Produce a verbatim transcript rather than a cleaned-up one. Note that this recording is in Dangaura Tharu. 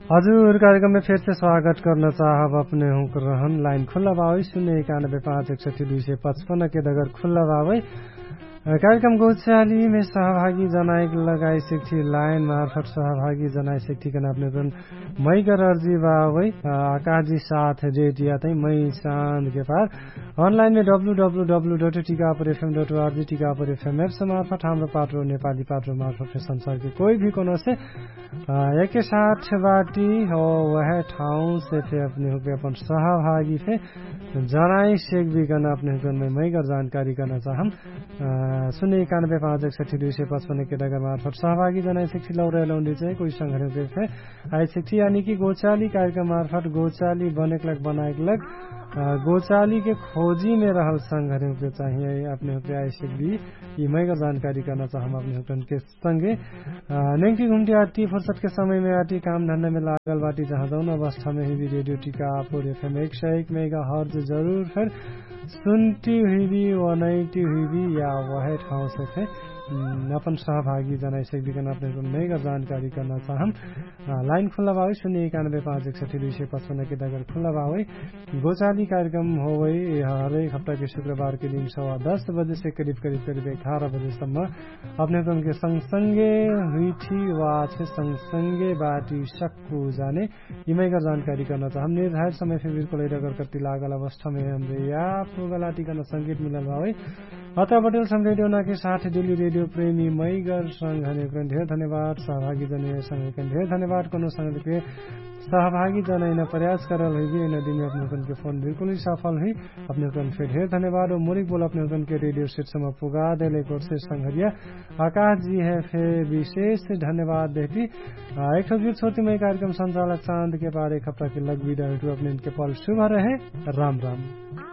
हजुर, कार्यक्रममे फेरसे स्वागत कर्न चाहब। अपने हुँक रहन लाइन खुल्ला बावै सुन्ने एकानबे पाँच एक सठी दुई सय पचपन्न के दगर खुल्ला बावै। कार्यक्रम गौचालीमे सहभागी जनाइक लगाइ सिक्ठी लाइन मार्फट सहभागी जनाइ सिक्ठी कन अपने कन मैकर अर्जी बावै। आकाजी साथ रेडिया तै मै चाँद के पार अनलाइनमे W W W dot Tikapur FM dot ORG Tikapur FM apps मार्फट हाम्रो पाटो नेपाली पाटो मार्फट संसारके कोही भी कोनोसे एके साथ बाटी हो। वहे ठाउँसे फे अपने हुँके अपन सहभागी फे जनाइ सेक बिकन अपने हुँकन मै मैगर जानकारी कर्ना चाहम। सुन्ने एकानबे पाँच एक सठी दुई सय पचपन्न के डगर मार्फट सहभागी जनाइ सेक लौरे लौन्डी चाहिँ कोही संघर्यौँके फे आइ सिक्ठी यानी कि गोचाली कार्यक्रम मार्फट गोचाली बनेक लग बनाएक लग गोचाली के खोजी मे रहल संघर्यौँ के चाहिए। अपने हुँके आइ सिक्ठी यि मैगर जानकारी कर्ना चाहम अपने हुँकन के संगे। नेङ्टी घुम्टी आटी फुर्सत के समय मे आटी काम धन्ना मे लागल बाटी जहाँ जौन अवस्था मे हुइबी रेडियो टिका आपुर एफएम एक सय एक मेगा हर्ज जरुर फेर सुन्टी हुइबी वनैटी हुइबी या वहे ठाउँ से फे अपन सहभागी जनाइ सक्दी कन अपने हुँकन मैगर जानकारी कर्ना चाहम। लाइन खुल्ला बावै सुन्ने एकानबे पाँच एक सठी दुई सय पचपन्न के दगर खुल्ला बावै। गोचाली कार्यक्रम होवै हरेक हप्ता के शुक्रबार के दिन सवा दस बजे से करिब करिब करिब एघार बजे सम्म अपने हुँकन के संगसंगे हुइठी वा छे संगसंगे बाटी सक्कु जाने यि मैगर जानकारी कर्ना चाहम। निर्धारित समय फे बिल्कुलै डगर कति लागल अवस्था मे हमरे या पुगल आटी कर्ना संगीत मिलल बावै। अत्ता बटेल सम रेडियो नाके साथ डेली रेडियो प्रेमी मैगर संग हनेकन ढेर धन्यवाद सहभागी जने संग हनेकन ढेर धन्यवाद कोनो संग के सहभागी जनाइन प्रयास करल हुइबी। एना दिनमे अपने हुँकन के फोन बिल्कुलै सफल हुइ। अपने हुँकन फे ढेर धन्यवाद ओ मुरिक बोल अपने हुँकन के रेडियो सेट सम्म पुगा देले कोर्से संघरिया आकाश जी हे फे विशेष धन्यवाद देहती। एक ठो गीत छोटी मै कार्यक्रम संचालक चाँद के पार एक हप्ता के लग बिदा हुइटु अपने हुँकन के पल शुभ रहे। राम राम।